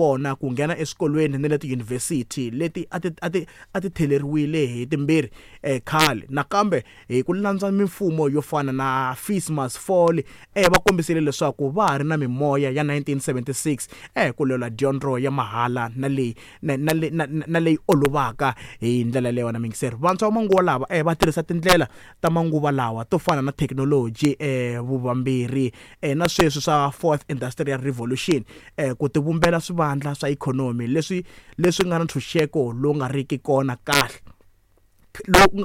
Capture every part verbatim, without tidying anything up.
vona ku nghena eswikolweni na le tiyunivhesiti leti a ti a ti a ti theleriwile hi timbirhi eh, khale. Nakambe hi ku landza mimfumo yo fana na Fees Must Fall, eh, va kombisile leswaku va ha ri na mimoya ya nineteen seventy-six eh, ku lwela dyondzo ya mahala na leyi na, na, na, na leyi olovaka hi ndlela leyi. Wena mingiseri, vantshwa va manguva lawa eh, va tirhisa tindlela ta manguva lawa to fana na thekinoloji, eh, vuvamberi eh, na sweswi swa fourth industrial revolution eh, ku tivumbela swivandla swa ikhonomi leswi leswi nga na ntshunxeko lowu nga riki kona kahle.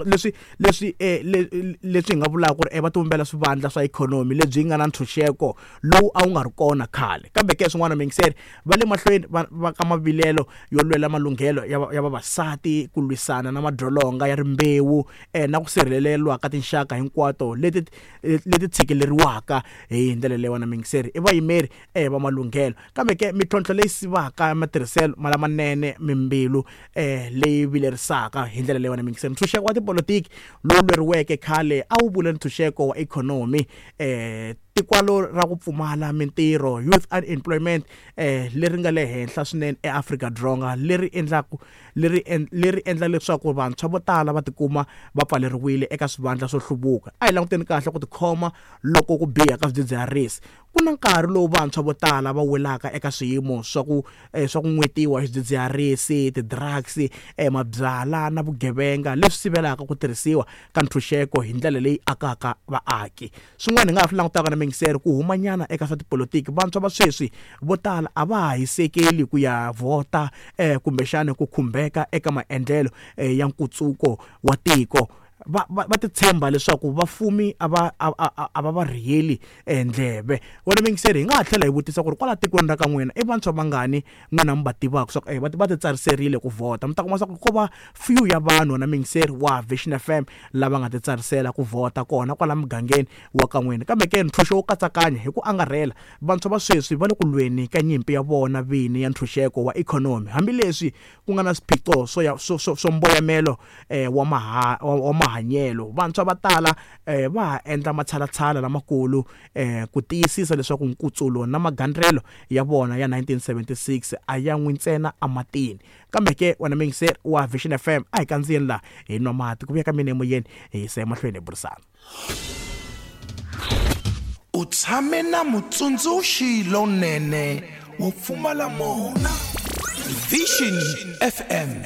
Leswi leswi eh, leswi hi nga vulaka ku ri va tivumbela swivandla swa ikhonomi lebyi nga na ntshunxeko lowu a wu nga ri kona khale. Kambe ke swin'wana mingiseri, va le mahlweni va va ka mavilelo yo lwela malunghelo ya ya vavasati, ku lwisana na madzolonga ya rimbewu eh, na ku sirheleriwa ka tinxaka hinkwato leti leti tshikeleriwaka hi ndlela leyi. Wena mingiseri, i vayimeri eh, va malunghelo. Kambe ke mintlhontlho leyi sivaka matirhiselo lamanene mimbilu eh, leyi vilerisaka hi ndlela leyi. Wena mingiseri, ntshunxeko wa tipolotiki lowu lweriweke khale a wu vula ntshunxeko wa ikhonomi, eh, tikwalo ra ku pfumala mintirho, youth unemployment eh, leri nga le henhla swinene eAfrika-Dzonga, leri endlaku leri leri endla leswaku vantshwa vo tala va tikuma va pfaleriwile eka swivandla swo hluvuka. A hi languteni kahle ku tikhoma loko ku biha ka swidzidziharisi. Ku na nkarhi lowu vantshwa vo tala va welaka eka swiyimo swa ku eh, swa ku n'wetiwa hi swidzidziharisi, ti-drugs, eh, mabyala na vugevenga leswi sivelaka ku tirhisiwa ka ntshunxeko hi ndlela leyi akaka vaaki. Swin'wana hi nga ha swi langutaka na mingiseri, ku humanyana eka swa tipolotiki. Vantshwa va sweswi vo tala a va ha hisekeli ku ya vhota eh, kumbexana ku khumbeka eka maendlelo eh, ya nkutsuko wa tiko. Va va va titshemba leswaku vafumi a va a a a va va rhiyeli ndleve. Wena mingiseri, hi nga ha tlhela hi vutisa ku ri kwala tikweni ra ka n'wina i vantshwa vangani n'wina mi va tivaka swa ku eh, va va titsariserile ku vhota? Mi ta kuma swa ku ko va few ya vanhu, wena mingiseri wa Vision F M, lava nga titsarisela ku vhota kona kwala mugangeni wa ka n'wina. Kambe ke ntshunxo wo katsakanya hi ku angarhela, vantshwa va sweswi va le ku lweni ka nyimpi ya vona vini ya ntshunxeko wa ikhonomi, hambileswi ku nga na swiphiqo swo ya swo swo swo mboyamelo eh, wa maha wa mahanyelo. Vantshwa va tala eh, va ha endla matshalatshala lamakulu eh, ku tiyisisa leswaku nkutsulo na magandlelo ya vona ya nineteen seventy-six a ya n'wi ntsena ematini. Kambe ke wena mingiseri wa Vision F M, a hi kandziyeni laha hi nwa mati ku vuya ka mina emoyeni, hi yisa emahlweni hi burisana. U tshame na mutsundzuxi lonene wo pfumala mona. Vision F M,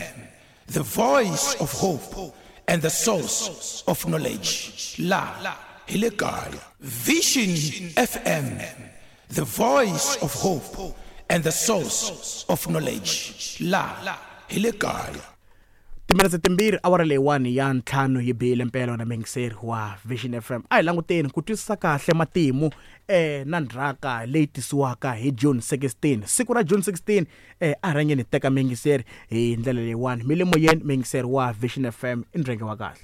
the voice of hope and the source of knowledge. La hi le kaya. Vision F M, the voice of hope and the source of knowledge. La hi le kaya. Timinetse timbirhi awara leyiwani ya ntlhanu yi bile mpela na mingiseri wa Vision F M. A hi languteni ku twisisa kahle matimu eh, na ndzhaka leyi tisiwaka hi June sixteen. Siku ra June sixteen eh, a rhangeni hi teka mingiseri hi ndlela leyiwani. Mi le moyeni, mingiseri wa Vision F M, i ndrenge wa kahle.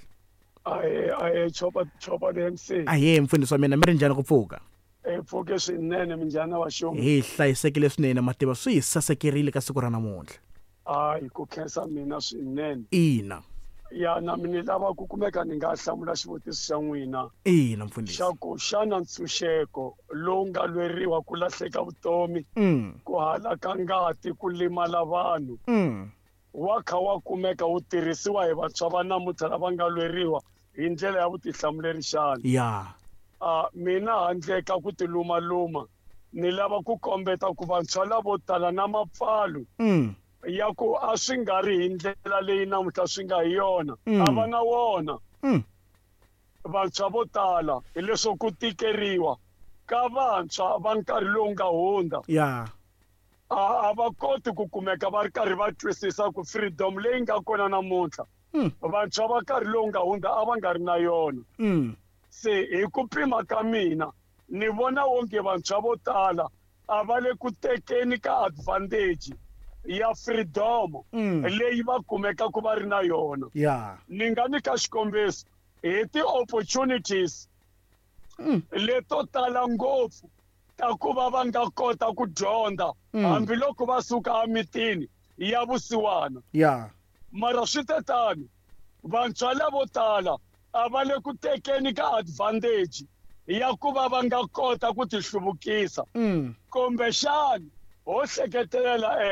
Ahe, ahe, chopa, chopa D M C. Ahe, mfundhisi wa mina, mi ri njhani ku pfuka? E pfuke swinene, minjhani wa xuma? Hi hlayisekile swinene, mativa swi hi sasekerile ka siku ra namuntlha. Hayi, ku khensa mina swinene. Ina. Ya, na mina ni lava ku kumeka ni nga hlamula xivutiso xa n'wina. Ina, mfundhisi. Xa ku xana ntshunxeko lowu nga lweriwa ku lahleka vutomi, Mm. ku halaka ngati, ku limala vanhu, Mm. wa kha wa kumeka wu tirhisiwa hi vantshwa va namuntlha lava nga lweriwa hi ndlela ya vutihlamuleri xana? Ya. Ah, mina handle ka ku tilumaluma, ni lava ku kombeta ku vantshwa lavo tala na mapfalo Mm. ya ku a swi nga ri hi ndlela leyi namuntlha swi nga hi yona, Mm. a va na wona. Mm. Vantshwa vo tala hileswo ku tikeriwa ka vantshwa va nkarhi lowu nga hundza. Ya. A, a va koti ku kumeka va ri karhi va twisisa ku freedom leyi nga kona namuntlha. Mm. Vantshwa va nkarhi lowu nga hundza a va nga ri na yona. Mm. Se hi ku pima ka mina ni vona onge vantshwa vo tala a va le ku tekeni ka advantage ya freedom Mm. leyi va kumeka ku va ri na yona. Ya. Ni nga nyika xikombiso hi ti-opportunities Mm. leto tala ngopfu ta ku va va nga kota ku dyondza Mm. hambiloko va suka emitini ya vusiwana. Ya. Mara swi te tano, vantshwa lavo tala a va le ku tekeni ka advantage ya ku va va nga kota ku tihluvukisa. Mm. Kumbexana ho hleketelela, eh,